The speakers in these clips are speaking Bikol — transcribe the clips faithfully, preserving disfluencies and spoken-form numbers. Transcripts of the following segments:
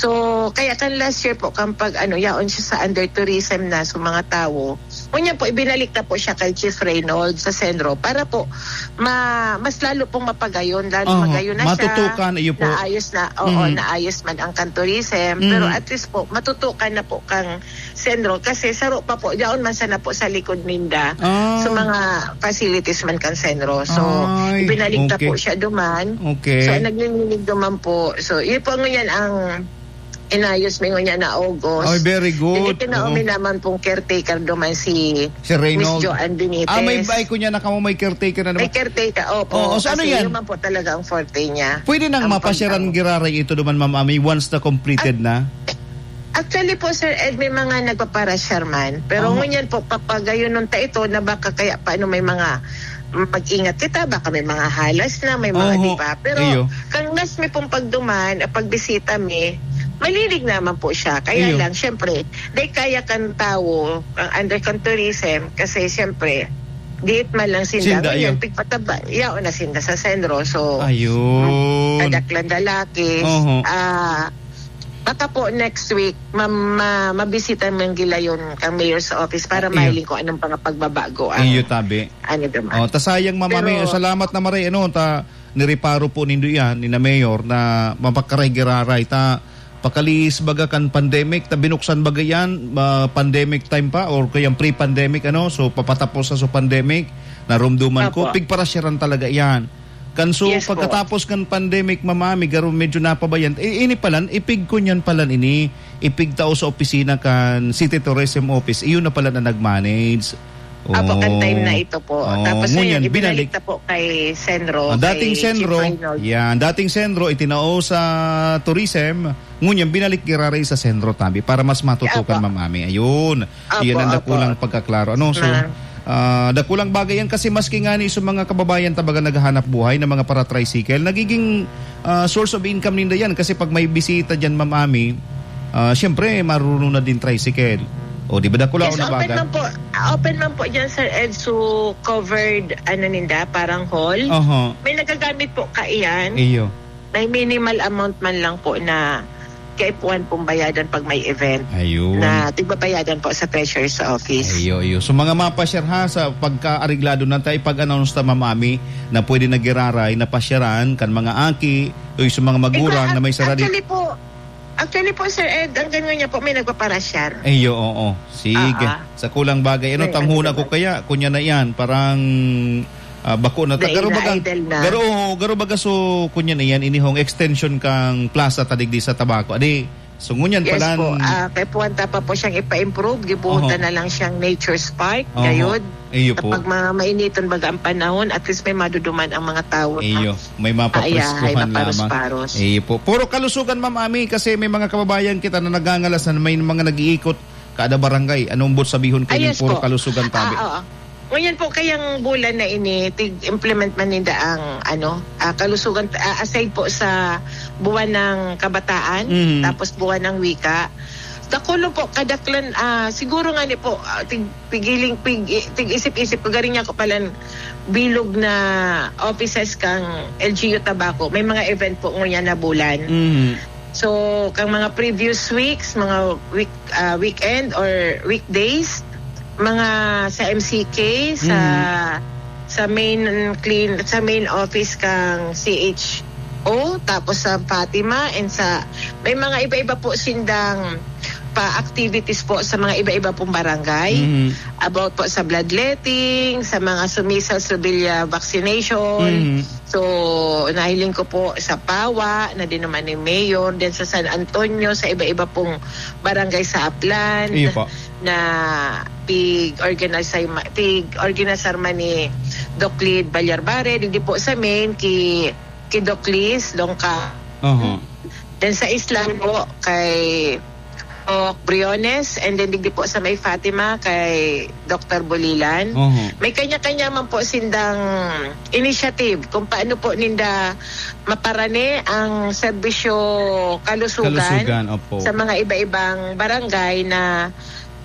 So, kaya kan last year po, kan pag-ano, yaon siya sa under tourism na, so mga tawo. Ngunyan po, ibinalik na po siya kay Chief Reynold sa Senro para po ma-, mas lalo pong mapagayon, lalo Oho, magayon na siya. matutukan, iyo po. Naayos na, oo, Mm. naayos man ang kan tourism. Mm. Pero at least po, matutukan na po kang Senro kasi saro pa po, yaon man sana po sa likod ninda. Ah. Sa mga facilities man kan Senro. So, Ay, ibinalik na okay. po siya duman. Okay. So, naglilinig duman po. So, yun po ngunyan ang inayos mi ngunyan na August. Ay, very good. Then, itinaw Oo. mi naman pong caretaker duman si Si Reynold. Miss Joanne Benitez. Ah, may bay ko niya na kamo may caretaker na May naman. caretaker, opo. Oo, so ano Kasi yan? yun man po talaga ang forte niya. Pwede nang Ang mapasyaran pagtao. giraray ito duman, Ma'am Ami, once na completed At na? Actually po, Sir Ed, may mga nagpaparasyar man. Pero Aha. ngunyan po, papagayunon ta ito na baka kaya paano may mga mag-ingat kita, baka may mga halas na, may mga Oho. di ba? Pero Iyo. kang last mi pong pagduman, ah, pagbisita mi, malilig naman po siya. Kaya Iyo. lang, syempre, di kaya kan tawo, ang under kan tourism, kasi syempre, diit man lang sinda. Sinda, Ngayon, iyo. pigpataba, yaon na sinda sa Senro. So, Ayun. kadaklan lalaki. Oho. Ah, baka po next week, ma-, ma-, mabisita man gila yun kang mayor's office para Iyo. mahiling kung anong mga pagbabago ang Iyo, tabi. ano naman. Oh, ta sayang, Ma'am Ami, Pero salamat na maray, ano, ta nireparo po nindo yan, ni na Mayor, na mapakaray-giraray, ta pakalihis baga kan pandemic, ta binuksan baga yan, ah, pandemic time pa, or kaya pre-pandemic, ano, so papatapos sa so pandemic, narumduman ko, Apo. pigparasyaran talaga yan. Kan so, Yes po. pagkatapos kan pandemic, Ma'am Ami, garo medyo napabayan, eh, ini palan, ipig ko niyan palan ini, ipigtao sa opisina kan City Tourism Office, iyon na pala na nag-manage. Apo, kan time na Oh. ito po. Oh, Tapos ngunyan, ngayon, ibinalik binalik. na po kay Senro, Ah, dating kay Senro, Chief Reynold. yan, dating Senro, itinao sa tourism, ngunyan, binalik giraray sa Senro, tabi, para mas matutukan, Apo. Ma'am Ami. Ayun, Apo, iyan ang apo. dakulang pagkaklaro. Ano, so, Ah. ah, dakulang bagay yan kasi maski nga ni sa mga kababayan ta baga naghahanap buhay na mga para-tricycle, nagiging, ah, source of income ninda yan kasi pag may bisita dyan, Ma'am Ami, ah, siyempre, marunong na din tricycle. O, di ba, dakula Yes, o open nabagan? man po, open man po dyan, Sir Ed, so covered, ano ninda, parang hall. Oho. May nagagamit po kaiyan. Iyo. May minimal amount man lang po na kaipuhan pong bayadan pag may event Ayun. na tigbabayadan po sa treasurer's office. Iyo, iyo. So, mga mapasyar ha, sa pagka-areglado na tayo, pag-announce ta, Ma'am Ami, na pwede nagiraray, na pasyaran, kan mga aki, o yung sa mga magulang Ikaw, na may sarili. actually po, actually po, Sir Ed, ang ganyan niya po, may nagpaparasyar. Iyo, oo. Sige. Ah, ah. Sa kulang bagay, ano, May tanghuna ano ko naman. kaya, kunya na yan, parang, ah, bako na ta-, Dahil garo baga, na-idle na. garo, garo baga, so, kunya na yan, inihong extension kang plaza ta digdi sa Tabaco. Adi, so, ngunyan Yes palan po. Ah, kay puwanta pa po siyang ipa-improve, gibuhutan Oho. na lang siyang nature's park, Oho. gayod. Iyo po. Kapag mga mainiton baga ang panahon, at least may maduduman ang mga tao na Iyo, may Ay, ay, mapapreskuhan lamang. maparos-paros. Iyo po. Puro kalusugan, Ma'am Ami, kasi may mga kababayan kita na nagangalas na may mga nag-iikot kada barangay. Anong but sabihon Ah, kayo yes puro po. kalusugan, tabi? Ah, oo. Ngunyan po, kayang bulan na ini, tig-implement man ninda ang, ano, ah, kalusugan, ah, aside po sa buwan ng kabataan, Mhm. tapos buwan ng wika, dakulo po, kadaklan, ah, siguro nga ni po, ah, tig-, pigiling, pig-, tig-isip-isip ko, garing niya ko palan bilog na offices kang L G U Tabaco. May mga event po ngunyan na bulan. Mhm. So, kang mga previous weeks, mga week, ah, weekend or weekdays, mga sa M C K, sa, Mhm. sa main clean, sa main office kang C H O, tapos sa Fatima, and sa, may mga iba-iba po sindang pa-activities po sa mga iba-iba pong barangay. Mhm. About po sa bloodletting, sa mga measles, rubella vaccination. Mhm. So, nahiling ko po sa Pawa, na din naman ni Mayor, din sa San Antonio, sa iba-iba pong barangay sa Aplan, Iyo po. na pig-organize, pig-organizar man ni Doc Lid Balyarbare, digdi po sa main, ki, ki Doc Liz Dongka. Oho. Then sa Isla po, kay Doc Briones, and then digdi po sa may Fatima, kay Doktor Bulilan. Oho. May kanya-kanya man po sindang initiative kung paano po ninda maparani ang serbisyo kalusugan Kalusugan, opo. sa mga iba-ibang barangay na,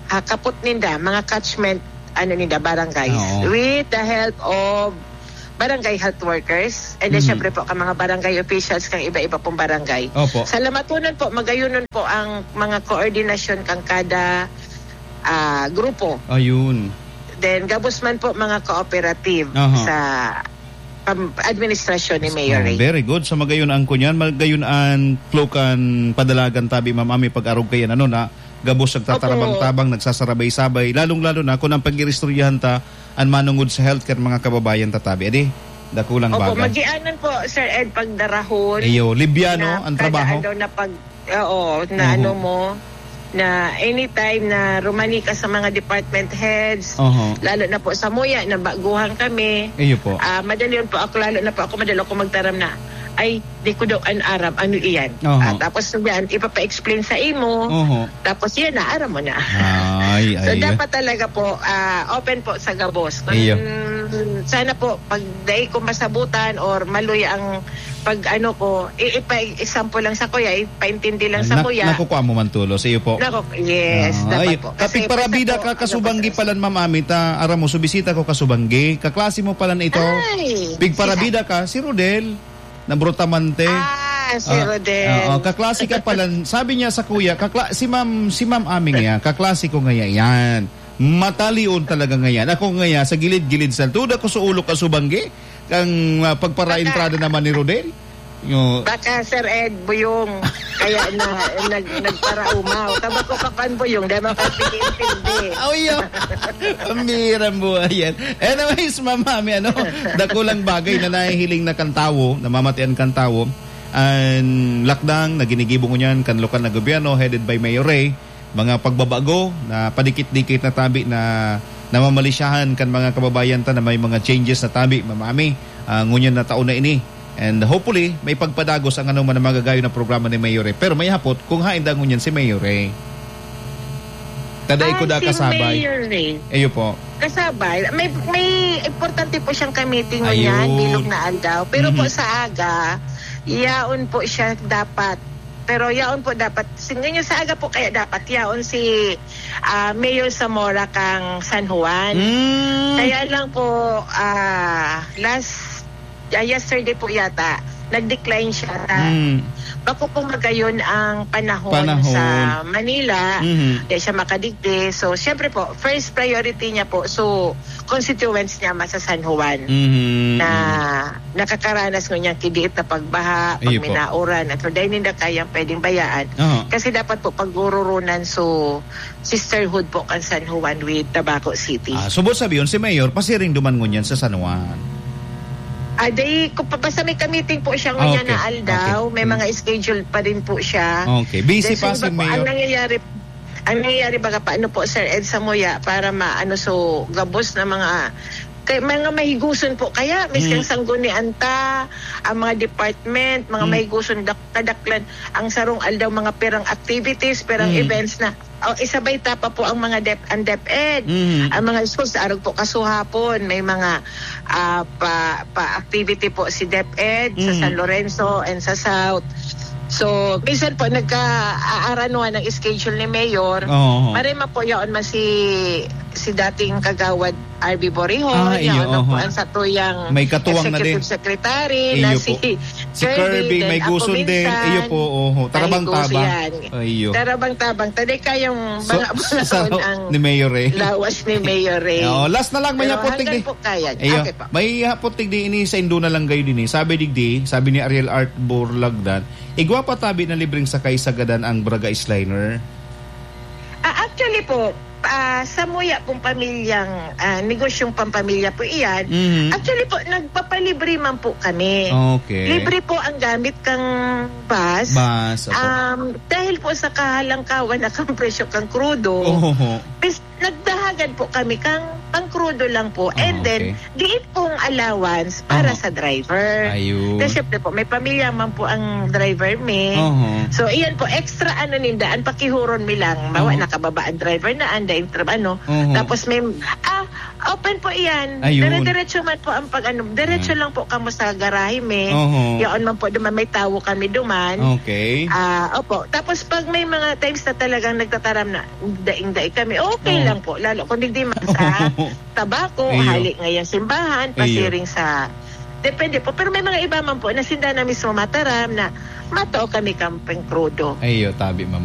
ah, kapot ninda, mga catchment, ano ninda, barangays. Oo. With the help of barangay health workers, and then Mhm. syempre po, ang mga barangay officials kang iba-iba pong barangay. Opo. Sa Lamatunan po, magayonon po ang mga koordinasyon kang kada, ah, grupo. Ayun. Then, gabos man po mga cooperative Aha. sa pam-, administrasyon ni Mayor Oh, Ray. very good. Sa magayon ang kunyan, magayon ang tlokan padalagan tabi, Ma'am Ami, pag-arog kayan, ano na, gabos nagtatarabang-tabang, Opo. nagsasarabay-sabay, lalong-lalo na kung ang pag-iristoryahan ta, an manungod sa health kan mga kababayan ta tabi. Adi, dakulang Opo, bagay. magianan po, Sir Ed, pagdarahon Iyo, libyano na ang kada trabaho. adlaw na pag, oo, na Oho. ano mo, na anytime na rumani ka sa mga department heads, Oho. lalo na po sa Muya, na baguhan kami. Iyo po. Ah, madali yun po ako, lalo na po ako, madali ako magtaram na, "Ay, di ko daw an aram, ano iyan?" Oho. Ah, tapos yan, ipapa-explain sa imo. Oho. Tapos yan na, aram mo na. Ay, So, ay. dapat talaga po, ah, open po sa gabos. Kung Iyo. sana po, pag dai ko masabutan or maloy ang pag-ano ko, i-, ipa-example lang sa kuya, ipaintindi lang sa Nak-, kuya. nakukuha mo man tulos, iyo po. Nako, yes, Ah, dapat ay, po. Kasi kapigparabida minsan po, ka, ano kasubanggi po, palan, Ma'am Ami, ta, aram mo, subisita ko kasubanggi. Kaklase mo palan ito. Ay, Pigparabida ka, si Rodel. na Brutamonte. Ah, si Ah, Rodel. oo, kaklase ka pala. Sabi niya sa kuya, kakla-, si Ma'am, si Ma'am Aming yan, kaklase ko ngaya yan. Matalion talaga ngayan. Ako ngaya, sa gilid-gilid sa tuda ko sa ulo ka subanggi, kang, ah, pagparaentrada Baka naman ni Rodel. Yo. Baka, Sir Ed, buyong. Kaya na, nag-, nagparaumaw. Taba ko ka pan buyong, dahil makapag-intindi. Oh, yeah. Ang bihirang buhay yan. Anyways, Ma'am Ami, ano, dakulang bagay na nahihiling na kan tawo, namamatian kan tawo, an lakdang na ginigibo ngunyan kan lokal na gobyerno headed by Mayor Ray, mga pagbabago na padikit-dikit na tabi na namamalisyahan kan mga kababayan ta na may mga changes na tabi, Ma'am Ami, ah, ngunyan na taon na ini. And hopefully, may pagpadagos ang anong man magagayon na programa ni Mayor Ray. Pero may hapot kung hain da ngunyan si Mayor Ray. Kada Ah, ikuda si kasabay. Mayor Ray. Ayo po. Kasabay. May, may importante po siyang kamiting ngunyan, Ayun. bilog na aldaw. Pero po Mhm. sa aga, yaon po siya dapat. Pero yaon po dapat. Si-, ngunyan sa aga po kaya dapat yaon si, ah, Mayor Zamora kang San Juan. Mm. Kaya lang po, ah, last, ah, yesterday po yata, nag-decline siya na Mm. bako po magayon ang panahon Panahon. sa Manila. Mhm. Di siya makadigdi. So, syempre po, first priority niya po. So, constituents niya man sa San Juan Mhm, na mhm. nakakaranas ngunyan ki diit na pagbaha, pag Iyo po. minauran, at dahil ninda kayang pwedeng bayaan. Aha. Kasi dapat po paggururunan so sisterhood po kan San Juan with Tabaco City. Ah, subot sabi yun, si Mayor, pasiring duman ngunyan sa San Juan. Ah, day, kung pa-, basta may kamiting po siya ngunyan Okay, na aldaw, okay. may Hmm. mga schedule pa rin po siya. Okay, busy Then, pa sa si iba po, Mayor. ang nangyayari, ang nangyayari baga pa, ano po, Sir Ed, sa Muya, para maano, so, gabos na mga, kay, mga mahiguson po. Kaya, miskang Hmm. sanggunian ta, ang mga department, mga Hmm. mahiguson, dak-, kadaklan, ang sarong aldaw, mga perang activities, perang Hmm. events na, oh, isabay ta pa po ang mga dep-, ang DepEd. Hmm. Ang mga schools, arog po kasuhapon, may mga, ah, pa, pa activity po si DepEd sa Hmm. San Lorenzo and sa South. So, minsan po, nagka-aaranuhan ang schedule ni Mayor. Oo. Maray man po, yaon man si, si dating kagawad R B Borihon, Ah, iyo, yaon man po oho. ang satuyang May katuwang na executive din. secretary na Iyo si po. Si Kirby, Kirby, may then ako gusto din. minsan. Iyo po, oho. May Tarabang gusto tabang. yan. Iyo. Tarabang tabang. Taday kayang So, mga sa, sa, ang ni Mayor Ray. lawas ni Mayor Ray. Oo, last na lang, may Pero hapot hanggang tigdi. po kaya. Iyo. Okay po. May hapot tigdi ini sa Indo na lang gayo din eh. Sabi digdi, sabi ni Ariel Art Borlagdan, "Igwa pa tabi na libreng sakay sa gadan ang Braga Isliner." Ah, actually po, ah, sa Muya pong pamilyang, ah, negosyong pampamilya po iyan, Mhm. actually po, nagpapalibre man po kami. Okay. Libre po ang gamit kang bus. Bus, opo. Um, dahil po sa kahalangkawan na kang presyo kang krudo, Oho. bis-, nagdahagan po kami kang pangkrudo lang po. And Ah, then, okay. diin pong allowance para Oho. sa driver. Ayun. Kasi syempre po, may pamilya man po ang driver mi. Oho. So, iyan po, extra ano ninda, ang pakihuron mi lang. Mawa, Oho. nakababa ang driver na, anda yung tra-, ano. Oho. Tapos may, ah, open po iyan. Ayun. Dire-diretso man po ang pag, ano, diretso Ayan. lang po kamo sa garahe mi. Oho. Yaon man po, duman may tawo kami duman. Okay. Ah, opo. Tapos pag may mga times na talagang nagtataram na, daing-daing kami, okay Oo. lang po. Lalo kung digdi man sa Tabako, Iyo. hali ngayon simbahan, Iyo. pasiring sa Depende po. Pero may mga iba man po na sinda na mismo mataram na matao kami kamping krudo. Ayo, tabi, ma'am.